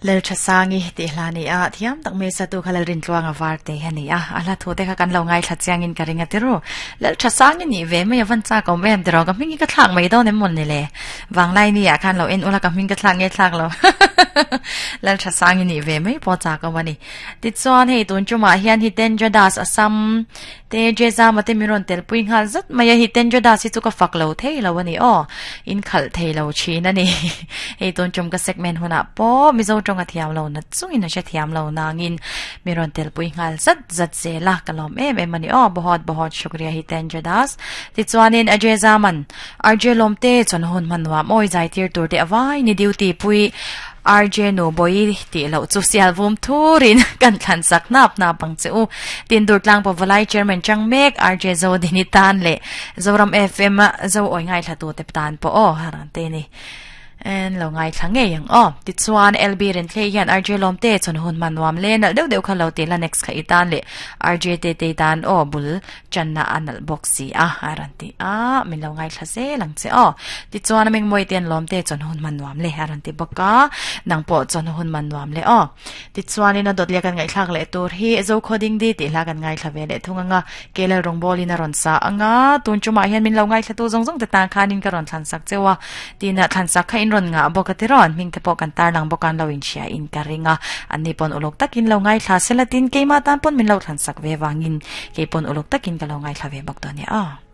Lalthasangi tih hla ni a, thiam tak mai satu kha Lalrintluanga var te hi a ni a, a hla thu te kha kan lo ngaithla chiangin ka ring a ti ru. Lalthasangi nih ve mai a van chak awm em tiraw, ka hming hi ka thlak mai dawn em mawn ni le? Vanglai ni ah khan lo en ula ka hming ka thlak nge thlak lo. Lalthasangi nih ve mai pawh chak awm a ni. Tichuan hei tun tumah hian Hitendra Das Assam Te Jezama te min rawn telpui nghal zat mai a, Hitendra Das hi chu ka fak lo thei lo a ni aw, in khalh thei lo thin a ni. Hei tun tum ka segment hunah pawh Mizo tawng a thiam lo na chungin a hre thiam lo nangin min rawn telpui nghal zat zat zel a, ka lawm em em a ni aw, Bahawt Bahawt Shukriya Hitendra Das. Tichuanin Ajezaman RJ Lawmte chuan hun hman nuam awi zai tir tur te a vai ni duty pui RJ nu bawi tih loh chu sial vum thurin kan thlan sak hnap hnap ang che u. Tin Durtlang Pavalai Chairman chang mek RJ Zodini tan leh Zoram FM Zo awi ngaithla tu te tan pawh aw haran te ni. En lo ngaithla ngei ang aw. Tichuan LB Renthlei hian RJ Lawmte chuan hun hman nuam le nalh deuh deuh kha lo ti la next kha i tan leh RJ Tete tan aw bul Channa a nalh bawk si a, a rawn ti a, min lo ngaithla zel ang che aw. Tichuan a mengmawi te an lawm te chuan hun hman nuam le a rawn ti bawk a, nang pawh chuan hun hman nuam le aw. Tichuanin a dawt leh kan ngaihthlak leh tur hi Zokhaw Dingdi tih hla kan ngaithla ve leh thung ang a, Kelal rawngbawlin a rawn sa ang a, tun tumah hian min lo ngaithlatu zawng zawng te tan khanin ka rawn thlansak cheu a, Tina thlansak kha in rawn ngah bawk a ti rawn, hming te pawh kan tarlang bawk a an lo inhria in ka ring a, anni pawn uluk takin lo ngaithla sela tin keimah tan pawn min lo thlansak ve vangin kei pawn uluk takin ka lo ngaithla ve bawk dawn e aw.